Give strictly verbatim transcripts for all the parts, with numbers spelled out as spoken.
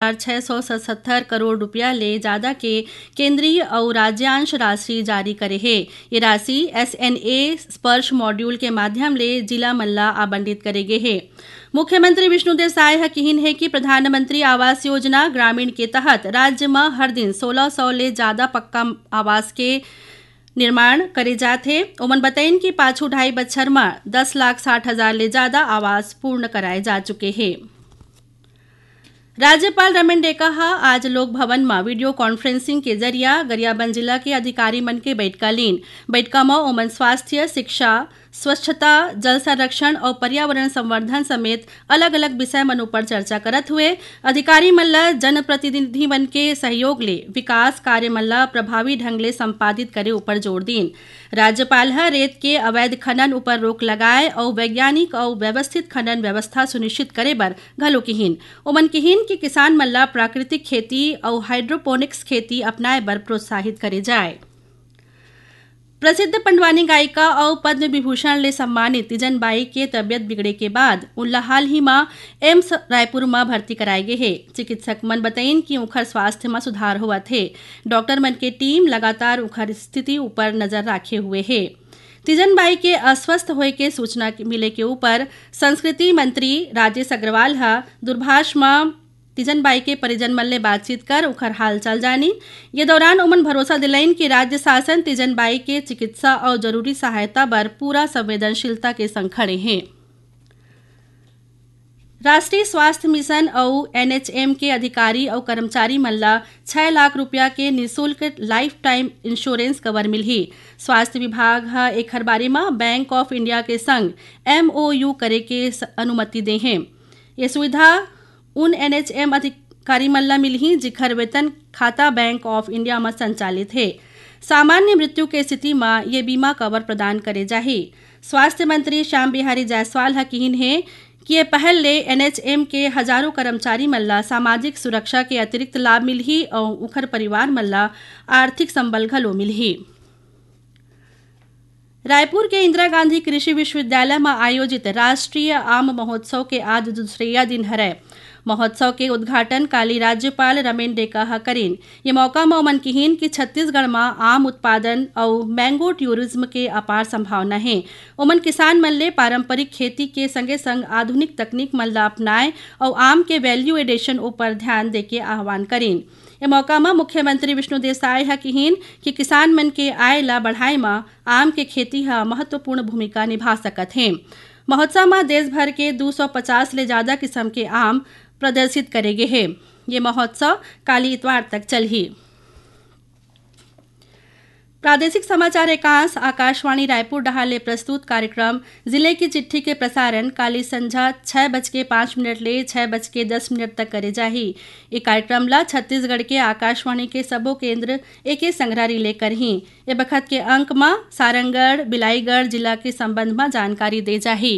छह सौ सतहत्तर करोड़ रुपया ले जादा के केंद्रीय अउ राज्यांश राशि जारी करे हे। ये राशि एसएनए स्पर्श मॉड्यूल के माध्यम ले जिला मन ला आवंटित करे गे हे। मुख्यमंत्री विष्णुदेव साय ह किहिन हे कि प्रधानमंत्री आवास योजना ग्रामीण के तहत राज्य म हर दिन सोलह सौ ले जादा पक्का आवास के निर्माण करे जात हे। ओमन बतइन कि पाछू ढाई बछर म दस लाख साठ हजार ले जादा आवास पूर्ण कराए जा चुके हे। राज्यपाल रमेन डेका ह आज लोक भवन म वीडियो कॉन्फ्रेंसिंग के जरिया गरियाबंद जिला के अधिकारी मन के बइठका लीन। बइठका म ओमन स्वास्थ्य, शिक्षा, स्वच्छता, जल संरक्षण अउ पर्यावरण संवर्धन समेत अलग-अलग विषय मन उपर चर्चा करत हुए अधिकारी मन ल जनप्रतिनिधि मन के सहयोग ले विकास कार्य मन ल प्रभावी ढंग ले संपादित करे उपर जोर दीन। राज्यपाल ह रेत के अवैध खनन उपर रोक लगाए अउ वैज्ञानिक अउ व्यवस्थित खनन व्यवस्था सुनिश्चित करे बर घलो किहिन। ओमन किहिन कि किसान मन ल प्राकृतिक खेती अउ हाइड्रोपोनिक्स खेती अपनाए बर प्रोत्साहित करे जाए। प्रसिद्ध पंडवानी गायिका अउ पद्म विभूषण ले सम्मानित तीजन बाई के तबियत बिगड़े के बाद उनला हाल ही म एम्स रायपुर म भर्ती कराए गे हे। चिकित्सक मन बतइन कि उंखर स्वास्थ्य म सुधार होवत हे। डॉक्टर मन के टीम लगातार उंखर स्थिति उपर नजर राखे हुए हे। तीजन बाई के अस्वस्थ होए के सूचना के मिले के उपर संस्कृति मंत्री राजेश अग्रवाल ह दूरभाष म तीजन बाई के परिजन मन ले बातचीत कर उंखर हालचाल जानिन। ये दौरान ओमन भरोसा दिलाइन कि राज्य शासन तीजन बाई के चिकित्सा अउ जरूरी सहायता बर पूरा संवेदनशीलता के संग खड़े हे। राष्ट्रीय स्वास्थ्य मिशन अउ एनएचएम के अधिकारी अउ कर्मचारी मन ल छह लाख रुपया के निशुल्क लाइफ टाइम इंश्योरेंस कवर मिलही। स्वास्थ्य विभाग ह एखर बारे म बैंक ऑफ इंडिया के संग एमओयू करे के स-, अनुमति दे हे। ये सुविधा उन एनएचएम अधिकारी मन ल मिलही, जिखर वेतन खाता बैंक ऑफ इंडिया म संचालित हे। सामान्य मृत्यु के स्थिति म ये बीमा कवर प्रदान करे जाही। स्वास्थ्य मंत्री श्याम बिहारी जायसवाल ह किहिन हे कि ये पहल ले एनएचएम के हजारों कर्मचारी मन ल सामाजिक सुरक्षा के अतिरिक्त लाभ मिलही अउ उखर परिवार मन ल आर्थिक संबल घलो मिलही। रायपुर के इंदिरा गांधी कृषि विश्वविद्यालय म आयोजित राष्ट्रीय आम महोत्सव के आज दूसरइया दिन हरय। महोत्सव के उद्घाटन काली राज्यपाल रमेन डेका ह करिन। ये मौका म ओमन किहिन कि छत्तीसगढ़ म आम उत्पादन अउ मैंगो टूरिज्म के अपार संभावना हे। ओमन किसान मन ले पारंपरिक खेती के संगे-संग आधुनिक तकनीक मन ल अपनाए अउ आम के वैल्यू एडिशन ऊपर ध्यान देके आह्वान करिन। ए मौका म मुख्यमंत्री विष्णुदेव साय ह किहिन कि किसान मन के आय ल बढ़ाए म आम के खेती ह महत्वपूर्ण भूमिका निभा सकत हे। महोत्सव म देश भर के दू सौ पचास ले जादा किसम के आम प्रदर्शित करे गे हे। ये महोत्सव काली इतवार तक चलही। प्रादेशिक समाचार एकांश आकाशवाणी रायपुर डहार ले प्रस्तुत कार्यक्रम जिले की चिट्ठी के प्रसारण काली संझा छह बज के पाँच मिनट ले छह बज के दस मिनट तक करे जाही। ये कार्यक्रम ला छत्तीसगढ़ के आकाशवाणी के सबो केंद्र एके संघरा रिले करही। ये बखत के अंक म सारंगढ़, बिलाईगढ़ जिला के संबंध म जानकारी दे जाही।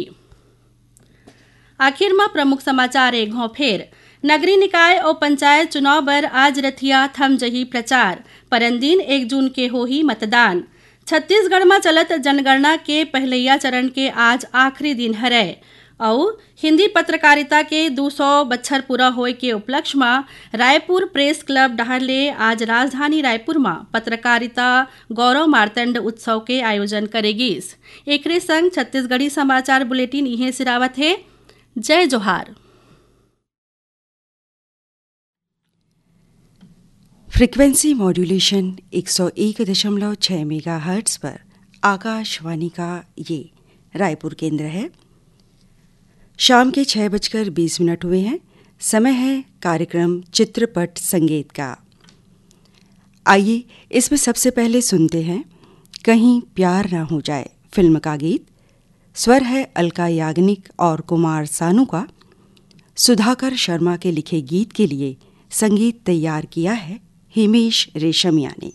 आखिर म प्रमुख समाचार एक घौं फेर। नगरीय निकाय अउ पंचायत चुनाव बर आज रथिया थम जही प्रचार। परन दिन एक जून के होही मतदान। छत्तीसगढ़ म चलत जनगणना के पहिलइया चरण के आज आखिरी दिन हरय। अउ हिंदी पत्रकारिता के दू सौ बछर पूरा होए के उपलक्ष्य म रायपुर प्रेस क्लब डहार ले आज राजधानी रायपुर म पत्रकारिता गौरव मार्तंड उत्सव के आयोजन करे गीस। एकरे संग छत्तीसगढ़ी समाचार बुलेटिन इहें सिरावत हे। जय जोहार। फ्रीक्वेंसी मॉड्यूलेशन एक सौ एक दशमलव छह मेगाहर्ट्ज़ पर आकाशवाणी का ये रायपुर केंद्र है। शाम के छह बजकर बीस मिनट हुए हैं। समय है कार्यक्रम चित्रपट संगीत का। आइए, इसमें सबसे पहले सुनते हैं कहीं प्यार ना हो जाए फिल्म का गीत। स्वर है अलका याग्निक और कुमार सानू का। सुधाकर शर्मा के लिखे गीत के लिए संगीत तैयार किया है हिमेश रेशमिया ने।